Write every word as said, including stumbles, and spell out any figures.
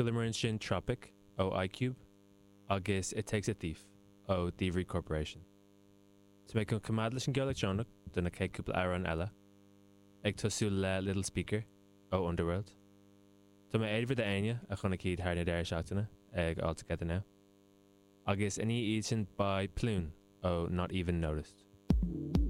Chualamar ansin Tropic ó I-Cube agus It Takes a Thief ó Thievery Corporation. Tá mé chun coimeád leis an gceol leictreonach do na chéad cúpla amhrán eile, ag tosú le Little Speaker ó Underworld. Tá mé éadmhar d'éinne a chonaic iad thar na deireadh seachtaine ag All Together Now. Agus ina dhiaidh sin beidh Plún ó Not Even Noticed.